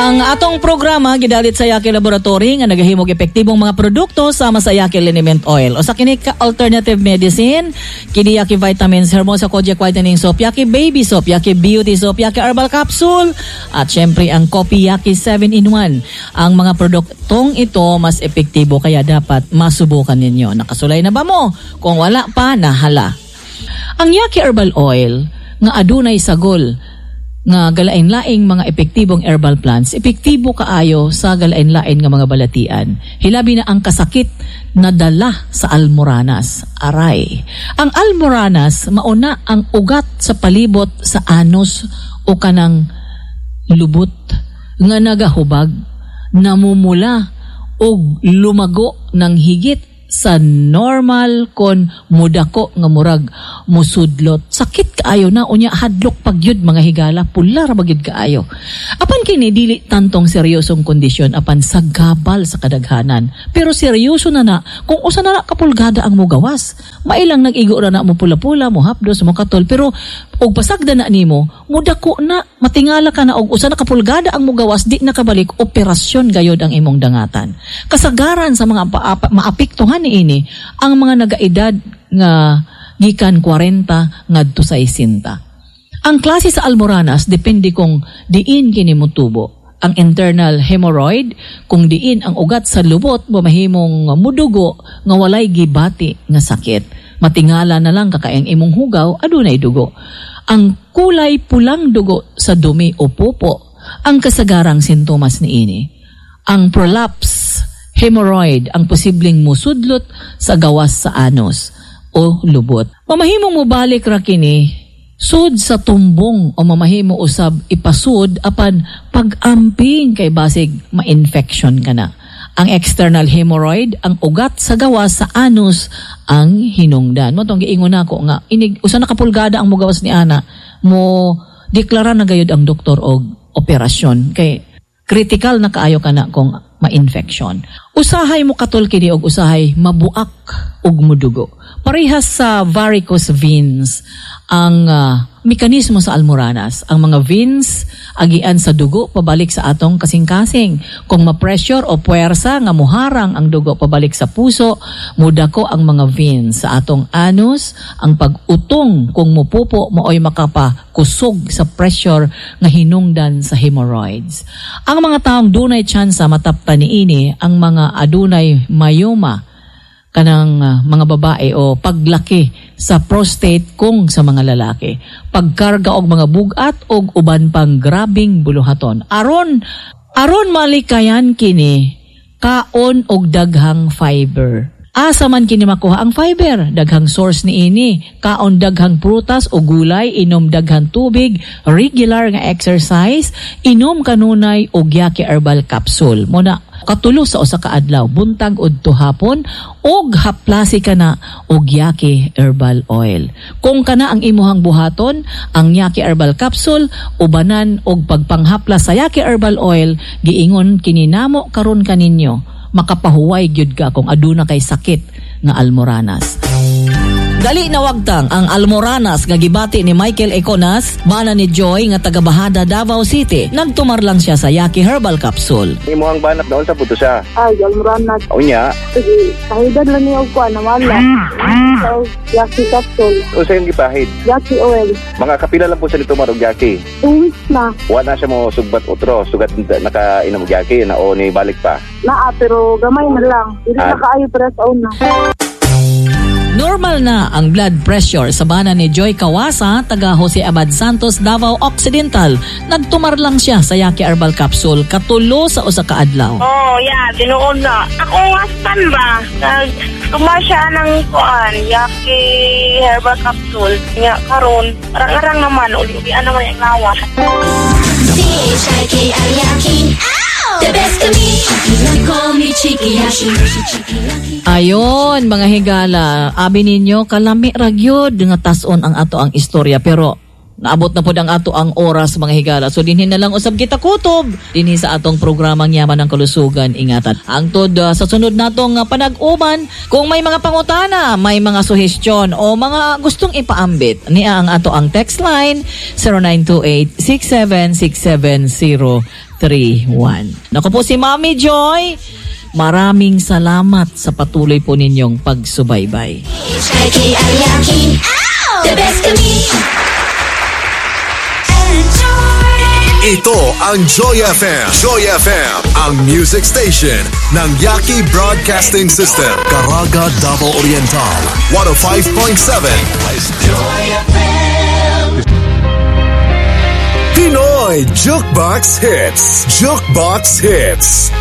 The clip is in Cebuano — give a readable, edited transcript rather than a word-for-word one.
Ang atong programa gidalit sa Yaki Laboratory nga nagahimog epektibong mga produkto sama sa Yaki Liniment Oil. Usa kini ka alternative medicine, kini Yaki Vitamins, Hermosa Kojak Whitening Soap, Yaki Baby Soap, Yaki Beauty Soap, Yaki Herbal Capsule, at syempre ang Coffee Yaki 7 in 1. Ang mga produktong ito mas epektibo kaya dapat masubukan ninyo. Nakasulay na ba mo? Kung wala pa, nahala. Ang Yaki Herbal Oil nga adunay sagol nga galain-laing mga epektibong herbal plants, epektibo kaayo sa galain-lain nga mga balatian. Hilabi na ang kasakit na dala sa almoranas. Aray. Ang almoranas mauna ang ugat sa palibot sa anus o kanang lubot nga nagahubag, namumula og lumago ng higit sa normal kon mudako nga murag musudlot. Sakit kaayo na, unya hadlok pagyud, mga higala, pula ra magyud kaayo. Apan kini dili tantong seryosong kondisyon apan sagabal sa kadaghanan, pero seryoso na na kung usa na na ka pulgada ang mugawas. Mailang nag-igo ra na mo pula-pula, mo hapdos, mo katol, pero og pasagda na nimo, mudako na, matingala ka na og usa na ka pulgada ang mugawas, di na kabalik, operasyon gayod ang imong dangatan. Kasagaran sa mga maapektuhan niini ang mga nagaedad nga gikan 40 ngadto sa 60. Ang klase sa almoranas depende kung diin kini motubo. Ang internal hemorrhoid, kung diin ang ugat sa lubot, mamahimong mudugo nga walay gibati nga sakit. Matingala na lang kakaeng imong hugaw, adunay dugo. Ang kulay pulang dugo sa dumi o pupo ang kasagarang sintomas niini. Ang prolapse hemorrhoid ang posibleng musudlot sa gawas sa anus o lubot. Mamahimong mobalik ra kini sud sa tumbong o mamahimo usab ipasud apan pag-amping kay basig ma-infection ka na. Ang external hemorrhoid, ang ugat sa gawas sa anus ang hinungdan. Mao tong giingon nako nga inig usa na ka pulgada ang mugawas ni ana, mo deklara na gayud ang doktor og operasyon kay critical na kaayo ka na kung ma-infection. Usahay mo katol kini og usahay mabuak og mudugo. Parehas sa varicose veins ang mekanismo sa almoranas. Ang mga veins agian sa dugo pabalik sa atong kasing-kasing. Kung ma-pressure o puwersa nga muharang ang dugo pabalik sa puso, mudako ang mga veins sa atong anus. Ang pag-utong kung mupupo maoy makapakusog sa pressure nga hinungdan sa hemorrhoids. Ang mga taong dunay tsansa matapta niini ang mga adunay myoma, kanang mga babae, o paglaki sa prostate kung sa mga lalaki. Pagkarga og mga bugat og uban pang grabing buluhaton. Aron aron malikayan kini, kaon og daghang fiber. Asa man kini makuha ang fiber? Daghang source niini. Kaon daghang prutas o gulay, inom daghang tubig, regular nga exercise, inom kanunay og Yaki Herbal Capsule. Muna katulo sa usa ka adlaw, buntag udto hapon, og haplasi ka na og Yaki Herbal Oil. Kung kana ang imuhang buhaton, ang Yaki Herbal Capsule ubanan og pagpanghapla sa Yaki Herbal Oil, giingon kini namo karon kaninyo, makapahuway gyud ka kung aduna kay sakit nga almoranas. Dali na wagtang ang almoranas nga gibati ni Michael Econas, bana ni Joy nga taga Bahada, Davao City. Nagtumar lang siya sa Yaki Herbal Capsule. Imuhang banat doon sa puto siya. Ay, almoranas. Unya, Sige, kahidan lang niya og kuan nawala. So, Yaki capsule, unsa yung gipahid? Yaki oil. Mga kapila lang po sa nitumar og Yaki? 2 weeks na. Wa na siya mo sugbat otro, sugat nakainom og Yaki na o ni balik pa? Naa, pero gamay na lang. Dili na kaayo para sa una. Normal na ang blood pressure sa bana ni Joy Kawasa, taga Jose Abad Santos, Davao Occidental. Nagtumar lang siya sa Yaki Herbal Capsule katulo sa usa ka adlaw. Oh, yeah, tinuod na. Ako nga stan ba? Nag siya ng kuan, Yaki Herbal Capsule. Nga karon, arang-arang naman, uli-ulian naman yung lawas. C-H-I-K-I-Yaki. The best kami. Call me Chiki Yaki. Ayon, mga higala, abi ninyo kalami ra gyud nga tas-on ang ato ang istorya, pero Naabot na pod ang ato ang oras, mga higala. So dinhi na lang usab kita kutob dinhi sa atong programang Yaman ng Kalusugan Ingatan. Hangtod sa sunod natong panag-uban, kung may mga pangutana, may mga suhestyon o mga gustong ipaambit, niya ang ato ang text line 0928 6767031. Nako po si Mami Joy. Maraming salamat sa patuloy po ninyong pagsubaybay. H-I-K-I-Y-A-K-I. The best kami. Ito ang Joy FM. Joy FM, ang music station ng Yaki Broadcasting System. Caraga, Davao Oriental, 105.7. Pinoy Jukebox Hits. Jukebox Hits.